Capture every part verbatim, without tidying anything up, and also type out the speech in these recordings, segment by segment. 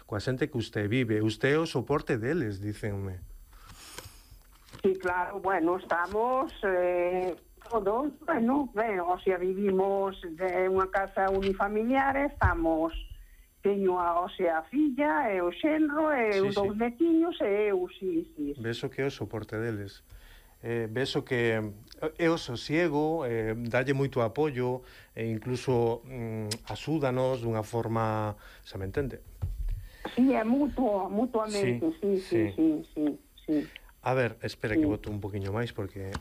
coa xente que usted vive. Usted é o soporte deles, dícenme. Sí, claro, bueno, estamos eh, todos, bueno, ben, o sea, vivimos de unha casa unifamiliar, estamos, teño a, o sea, a filla, e o xenro, e Sí, os dous sí. netiños, e eu, sí, sí. sí. Beso que é o soporte deles. Eh, beso que é o sosiego, eh, dalle moito apoio, e incluso mm, axúdanos dunha forma, xa me entende? Sí, é mutuo, mutuamente, sí, sí, sí, sí, sí. sí. A ver, espera Sí. que boto un poquinho máis, porque...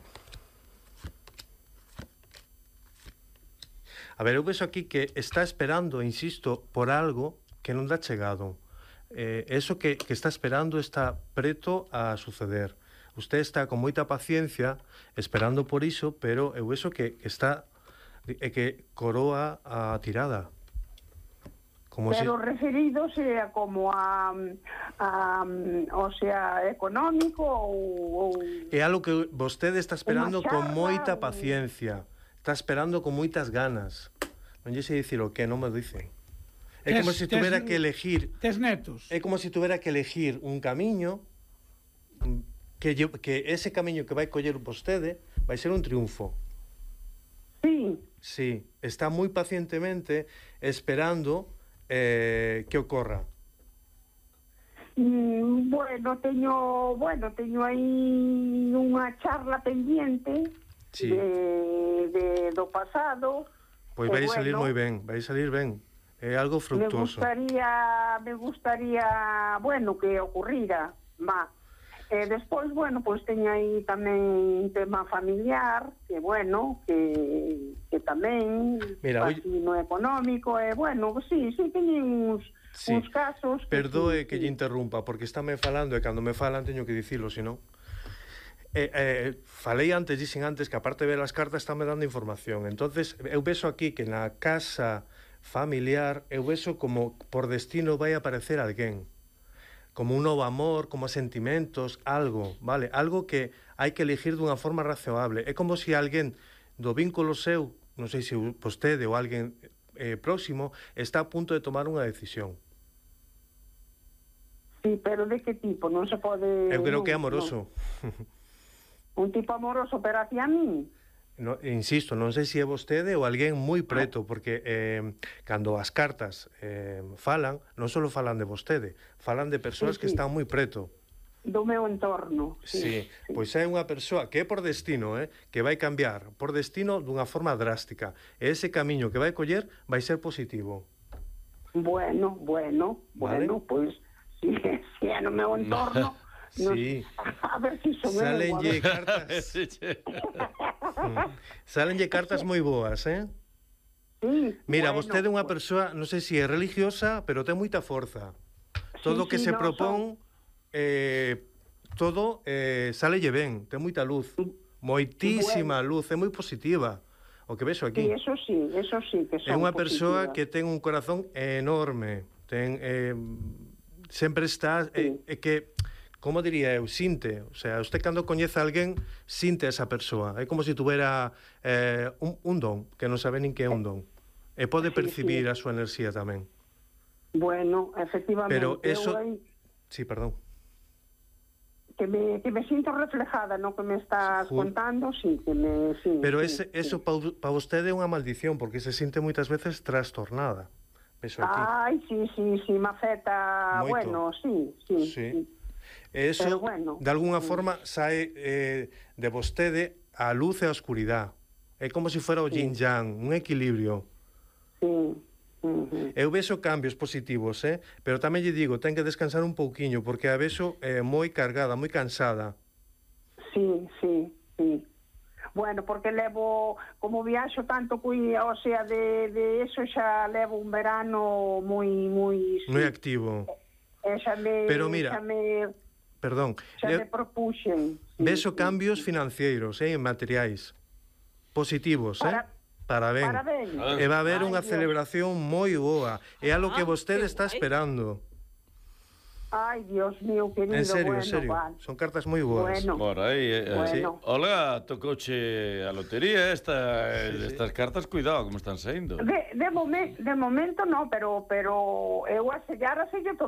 A ver, eu vexo aquí que está esperando, insisto, por algo que non dá chegado. Eh, eso que, que está esperando está preto a suceder. Usted está con moita paciencia esperando por iso, pero eu vexo que, que está é que coroa a tirada. Como Pero si... referidos a como a, a, o sea, económico ou... ou... É algo que vostede está esperando Unha con charla, moita un- paciencia. Está esperando con moitas ganas. Non lle sei dicir o que, non me dice. É Tes- como se tes- tuvera que elegir... Tes netos? É como se tuvera que elegir un camiño que, lle- que ese camiño que vai coller vostede vai ser un triunfo. Sí, Sí, está moi pacientemente esperando eh, que ocorra. mm, bueno, teño, bueno, teño aí unha charla pendiente Sí. de, de do pasado. Pois e vai salir bueno, moi ben, vai salir ben. É algo Me fructuoso. gustaría, me gustaría, bueno, que ocurrira, va. E despois, bueno, pois teño aí tamén un tema familiar, que bueno, que, que tamén, Mira, así no económico, e bueno, sí, sí, teño uns, Sí. uns casos... Que Perdoe sí, que sí. lle interrumpa, porque estáme falando e cando me falan teño que dicilo, senón. Eh, eh, falei antes, dixen antes que aparte de ver as cartas estame dando información. Entonces, eu vexo aquí que na casa familiar eu vexo como por destino vai aparecer alguén. Como un novo amor, como sentimentos, algo, vale? Algo que hai que elegir dunha forma razoable. É como se alguén do vínculo seu, non sei se vostede ou alguén eh, próximo, está a punto de tomar unha decisión. Sí, pero de que tipo? Non se pode... Eu creo non, que é amoroso. Non. Un tipo amoroso, pero hacia mí? No, insisto, non sei se é vostede ou alguén moi preto, porque eh, cando as cartas eh, falan, non só falan de vostede, falan de persoas Sí, que sí. están moi preto. Do meu entorno. Sí, sí. pois é unha persoa que é por destino, eh, que vai cambiar por destino dunha forma drástica. E ese camiño que vai coller vai ser positivo. Bueno, bueno, Vale. bueno, pois, si, si é no meu entorno... No, Sí. a ver si son eu, a Salenlle ver. cartas. Mm. Salenlle cartas moi boas, eh? Sí, Mira, bueno, vostede é unha pues, persoa, non sei se é religiosa, pero ten moita forza. Todo o sí, que sí, se no, propón, eh, todo eh, salelle ben, ten moita luz. Moitísima Bueno. luz, é moi positiva. O que vexo Sí, aquí. eso sí, eso sí que É son unha persoa positivas. que ten un corazón enorme. Ten eh, sempre está eh, Sí. é que como diría eu, sinte, o sea, usted cando coñece a alguén, sinte a esa persoa. É como se tuvera eh, un, un don, que non sabe nin que é un don. E pode Sí, percibir sí. a súa enerxía tamén. Bueno, efectivamente, Pero eso... eu aí, Sí, perdón. que me, que me sinto reflejada no que me estás Ju- contando, sí, que me... Sí, Pero ese, sí, eso sí. pa, pa vostede é unha maldición, porque se sinte moitas veces trastornada. Vexo aquí. Ai, sí, sí, sí, me afecta, Moito. bueno, sí, sí, Sí. sí. E eso, Pero bueno, de alguna mm. forma, sae eh, de vostede a luz e a oscuridade. É como se fora o Sí. yin-yang, un equilibrio. Sí. Uh-huh. Eu vexo cambios positivos, eh? Pero tamén lle digo, ten que descansar un pouquiño, porque a vexo eh, moi cargada, moi cansada. Sí, sí, sí. Bueno, porque levo, como viaxo tanto, cui, o sea, de, de eso xa levo un verano moi, moi... Sí. Moi activo. E xa me... Pero mira, xa me, Perdón, xa eu me propuxen. Sí, vexo sí, cambios sí. financeiros, eh, en materiais. Positivos, Para- eh? Parabén. Parabéns. E va a haber Ai, unha Dios. celebración moi boa. É algo que Ah, vostede que está guai. esperando. Ai, Dios mío, querido, En serio, bueno, en serio. vale. Son cartas moi boas. Bueno. Por aí, eh, Bueno. sí. Olga, tocouche a lotería esta, Sí, sí. estas cartas, cuidado como están saindo. De, de, momen, de momento no, pero pero eu a sellar a sello todo